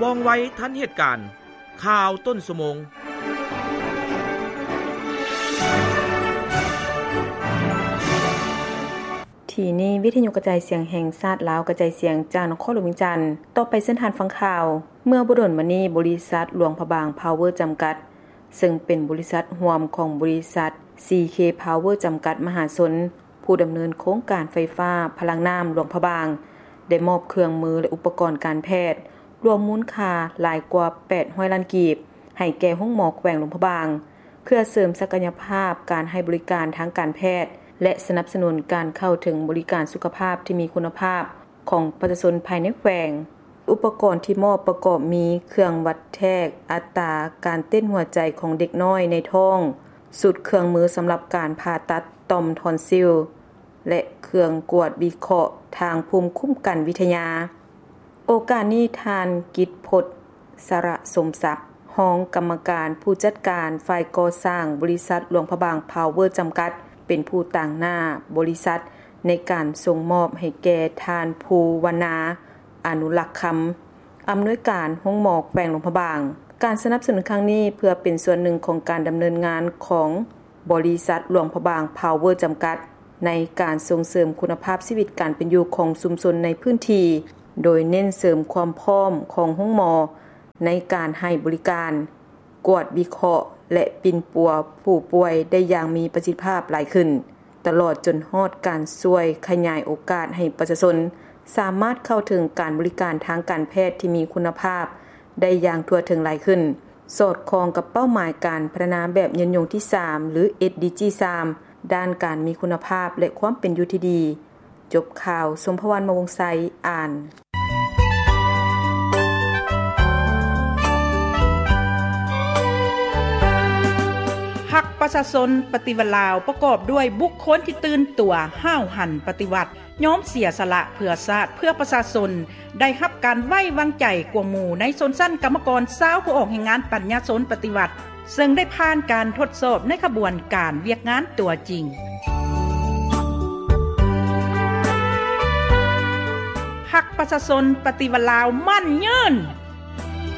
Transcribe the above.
ວ່ອງໄວທັນເຫດການ. ຂ່າວຕົ້ນຊົ່ວໂມງ. ທີ່ນີ້ ວິທະຍຸກະຈາຍສຽງແຫ່ງຊາດລາວ ກະຈາຍສຽງຈາກນະຄອນຫຼວງວຽງຈັນ. ຕໍ່ໄປເຊີນທ່ານຟັງຂ່າວ. ເມື່ອບໍ່ດົນມານີ້ ບໍລິສັດຫຼວງພະບາງພາວເວີຈຳກັດ ເຊິ່ງເປັນບໍລິສັດຮ່ວມຂອງບໍລິສັດ ຊີເຄ ພາວເວີຈຳກັດມະຫາຊົນ ຜູ້ດຳເນີນໂຄງການໄຟຟ້າພະລັງນ້ຳຫຼວງພະບາງ ໄດ້ມອບເຄື່ອງມື ແລະ ອຸປະກອນການແພດ ລວມມູນຄ່າຫຼາຍກວ່າແປດຮ້ອຍລ້ານກີບ ໃຫ້ແກ່ໂຮງໝໍແຂວງຫຼວງພະບາງ ເພື່ອເສີມສັກກະຍະພາບການໃຫ້ບໍລິການທາງການແພດ ແລະ ສະໜັບສະໜູນການເຂົ້າເຖິງບໍລິການສຸຂະພາບທີ່ມີຄຸນນະພາບຂອງປະຊາຊົນພາຍໃນແຂວງ. ອຸປະກອນທີ່ມອບປະກອບມີເຄື່ອງວັດແທກອັດຕາການເຕັ້ນຫົວໃຈຂອງເດັກນ້ອຍໃນທ້ອງ, ຊຸດເຄື່ອງມືສຳລັບການຜ່າຕັດຕ່ອມທອນຊິວ ແລະ ເຄື່ອງກວດວິເຄາະທາງພູມຄຸ້ມກັນວິທະຍາ. ໂອກາດນີ້ ທ່ານ ກິດພົດ ສະລະສົມສັກ ຮອງກຳມະການຜູ້ຈັດການຝ່າຍກໍ່ສ້າງບໍລິສັດຫຼວງພະບາງພາວເວີຈຳກັດ ເປັນຜູ້ຕາງໜ້າບໍລິສັດໃນການສົ່ງມອບໃຫ້ແກ່ທ່ານ ພູວັນນາ ອະນຸລັກຄຳ ອຳນວຍການໂຮງໝໍແຂວງຫຼວງພະບາງ. ການສະໜັບສະໜູນຄັ້ງນີ້ ເພື່ອເປັນສ່ວນໜຶ່ງຂອງການດຳເນີນງານຂອງ ບໍລິສັດຫຼວງພະບາງພາວເວີຈຳກັດ ໃນການສົ່ງເສີມຄຸນນະພາບຊີວິດການເປັນຢູ່ຂອງຊຸມຊົນໃນພື້ນທີ່, ໂດຍເນັ້ນເສີມຄວາມພ້ອມຂອງໂຮງໝໍໃນການໃຫ້ບໍລິການ, ກວດວິເຄາະ ແລະ ປິ່ນປົວຜູ້ປ່ວຍໄດ້ຢ່າງມີປະສິດທິພາບຫຼາຍຂຶ້ນ, ຕະຫຼອດຈົນຮອດການຊ່ວຍຂະຫຍາຍໂອກາດໃຫ້ປະຊາຊົນສາມາດເຂົ້າເຖິງການບໍລິການທາງການແພດທີ່ມີຄຸນນະພາບໄດ້ຢ່າງທົ່ວເຖິງຫຼາຍຂຶ້ນ. ສອດຄ່ອງກັບເປົ້າໝາຍການພັດທະນາແບບຍືນຍົງທີສາມ ຫຼື ເອສດີຈີສາມ ດ້ານການມີຄຸນນະພາບ ແລະ ຄວາມເປັນຢູ່ທີ່ດີ. ຈົບຂ່າວ, ສົມພະວັນ ມະວົງໄຊ ອ່ານ. ພັກປະຊາຊົນປະຕິວັດລາວ ປະກອບດ້ວຍບຸກຄົນທີ່ຕື່ນຕົວ, ຫ້າວຫັນປະຕິວັດ, ຍອມເສຍສະຫຼະເພື່ອຊາດ, ເພື່ອປະຊາຊົນ, ໄດ້ຮັບການໄວ້ວາງໃຈກວ່າໝູ່ໃນຊົນຊັ້ນກຳມະກອນຊາວຜູ້ອອກແຮງງານປັນຍາຊົນປະຕິວັດ, ເຊິ່ງໄດ້ຜ່ານການທົດສອບໃນຂະບວນການວຽກງານຕົວຈິງ. ພັກປະຊາຊົນປະຕິວັດລາວໝັ້ນຍືນ.